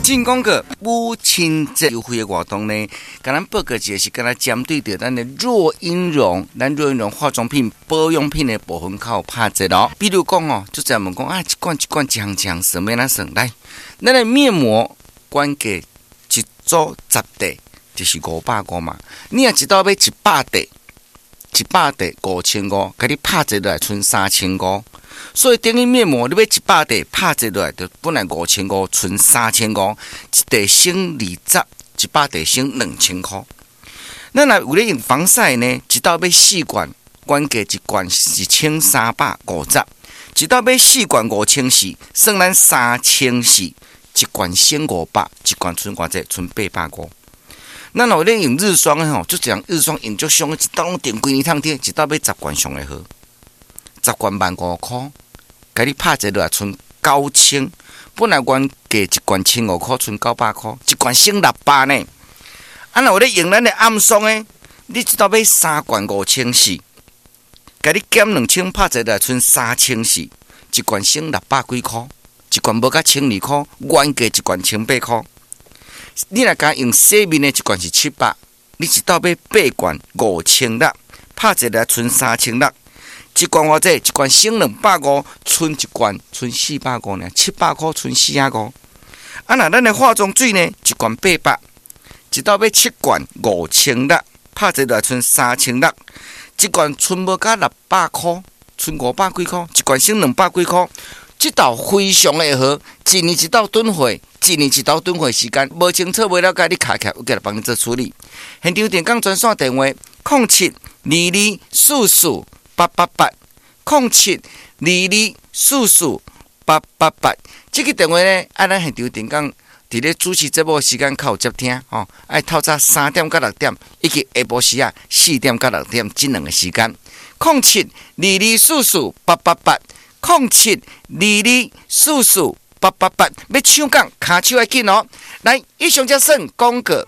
進廣告，母親節優惠的活動呢，共咱報告一個是敢若針對著咱的若音容，咱若音容化妝品保養品的部分較有拍折哦。比如講哦，就這樣問講啊，一罐一罐一項一項算欲按怎算來？咱的面膜原價一組十塊，就是550嘛。你若一道買100塊，100塊5500，共你拍折落來賰3500。所以等於面膜，你買100塊拍折落來，就本來5500，賰3500，一塊省20，100塊省2000箍。咱若有咧用防曬呢，一道買四罐，原價一罐是1350，一道買四罐5400，算咱3400，一罐省500，一罐賰偌濟？賰850。咱若有咧用日霜的吼，足濟人日霜用足傷，一道攏定規年通貼，一道買十罐上會好。十罐15,000箍，共你拍折落來賰9000。本來原價一罐1500箍，賰900箍，一罐省600呢。啊，若有咧用咱的暗霜的，你一道買三罐5400，共你減2000，拍折落來賰3400，一罐省600幾箍，一罐無甲1200箍，原價一罐1800箍。你若敢用洗面的，一罐是700，你一道買八罐5600，拍折來賰3600。一罐偌濟？一罐省250，賰一罐賰450爾，700箍賰4仔五。啊，若咱的化妝水呢？一罐800，一道買七罐5600，拍折來賰3600。一罐賰無甲600箍，賰500幾箍，一罐省200幾箍。這道非常的好，一年一道囤貨，一年一道囤貨時間，無清楚無了解，你敲起來有過來幫你做處理。現場電工專線電話：07-2244888，07-2244888。這個電話呢，按咱現場電工佇咧主持節目的時間較有接聽吼，愛透早3點到6點，以及下晡時啊4點到6點這兩個時間。07-2244888，07-2244888，欲搶講跤手愛緊哦。來，以上才算廣告。